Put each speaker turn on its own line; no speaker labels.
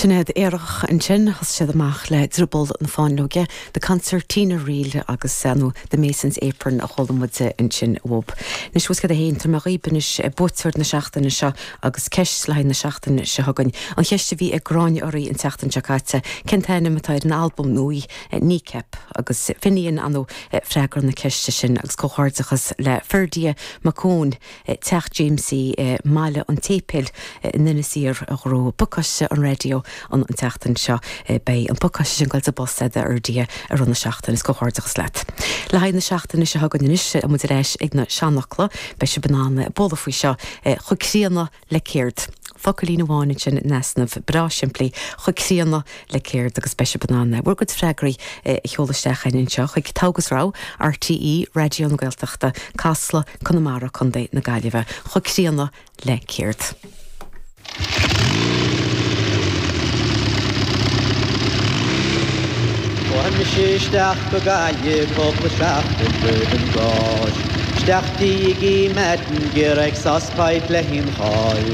Sin iad Aerach ansin, thosaigh siad amach le Drioball na Fáinleoige, The Concertina Reel agus nó The Mason's Apron a chuala muid ansin uathub. Anois bhfuil a fhios agat féin, tabharfaidh mé dhaoib anois buaiteoir na seachtaine seo agus ceist le haghaidh na seachtaine seo chugainn. An cheist a bhí ag Gráinne oraibh an tseachtain seo caite, cén t-ainm atá ar an albam nua Kneecap? Agus Finian ar ndóigh freagra na ceiste sin agus comhghairdeachas le Ferdia Mac Eoin. Teach Jamesie i mBaile an tSéipéil in Inis Oírr a ghnóthaigh pacáiste an raidió an tseachtain seo. Beidh an pacáiste sin ag goil sa bpost agat a Fherdia i rith na seachtaine. Is comhghairdeachas leat. Le haghaidh na seachtaine seo chugainn anois, tá muid ar ais ag na seanfhocla. Beidh sibh in ann bualadh faoi seo chomh críonna le céard? Focailín amháin ansin in easnamh, breá simplí, chomh críonna le céard agus beidh sibh in ann bhur gcuid freagraí a sheoladh isteach chugainn anseo chuig Togha agus Rogha, RTÉ Raidió na Gaeltachta, Casla, Conamara, Co. na Gaillimhe. Chomh críonna le céard?
Chuaigh mise isteach go Gaillimh cúpla seachtain roimh an gCáisc. Isteach dtí Iggy Madden d'iarraidh sauce pipe le hionchais.